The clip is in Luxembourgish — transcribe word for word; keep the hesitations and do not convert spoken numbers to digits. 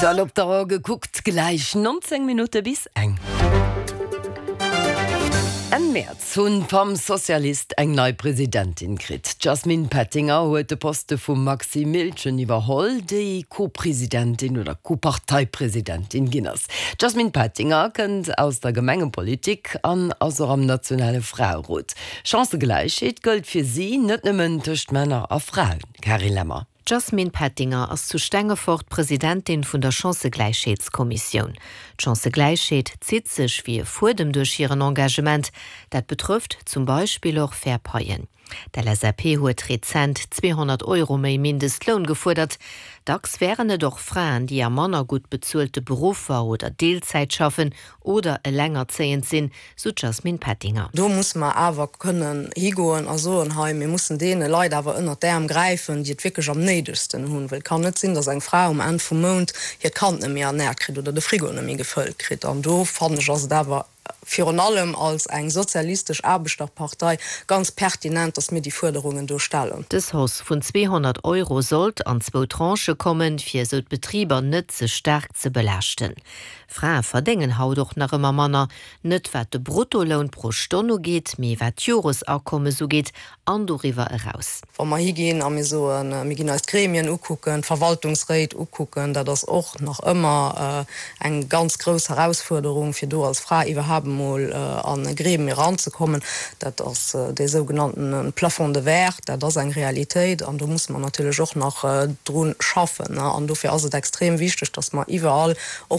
Aktuell op d'Auer gekuckt, gläich nonzéng Minutte bis eng. Enn Mäerz hunn d'Femmes Socialistes eng nei Presidentin kritt. D'Jasmine Pettinger huet de Poste vum Maxi Miltgen iwwerholl, déi Co-Presidentin oder Co-Parteipresidentin ginn ass. D'Jasmine Pettinger kënnt aus der Gemengepolitik an ass och am nationale Fraerot. Chancëgläichheet gëllt fir si net nëmmen tëscht Männer a Fraen. Carine Lemmer. D'Jasmine Pettinger ass zu Stengefort Presidentin vun der Chancëgläichheetskommissioun. D'Chancëgläichheet zitt sech wéi e Fuedem duerch hiren Engagement. Dat betrëfft zum Beispill och fair Paien. D'L S A P huet rezent zweehonnert Euro méi Mindestloun gefuerdert. Dacks wären et och Fraen, déi a manner gutt bezuelte Beruffer oder Deelzäit schaffen oder elengerzéiend sinn, sou d'Jasmine Pettinger. Do musse mer awer kënnen higoen a soen, hei, mir mussen deene Leit awer ënnert d'Äerm gräifen, déi et wierklech am néidegsten hunn, well et kann net sinn, dass eng Fra um Enn vum Mount hiert Kand net méi ernäert kritt oder de Frigo net méi gefëllt kritt. An do fannen ech, ass et awer virun allem als eng sozialistesch Aarbechterpartei ganz pertinent, dass mir déi Fuerderungen do stellen. Dës Hausse vun zweehonnert Euro sollt an zwou Tranchë kommen, fir esou d'Betriber net ze staark ze belaaschten. Frae verdéngen haut och nach ëmmer manner, net wat de Bruttoloun pro Stonn ugeet, mee wat d'Joresakommes ugeet an doriwwer eraus. Wa mer higinn a mir soen, mir ginn eis d'Gremien ukucken, d'Verwaltungsréit ukucken, dat ass och nach ëmmer eng ganz grouss Herausfuerderung, fir do als Fra iwwerhaapt emol an e Gremium eranzekommen. Dat ass dee sougenannten Plafond de verre, dat ass eng Realitéit an do musse mer natierlech och nach dru schaffen. An dofir ass et extrem wichteg, dass mer iwwerall och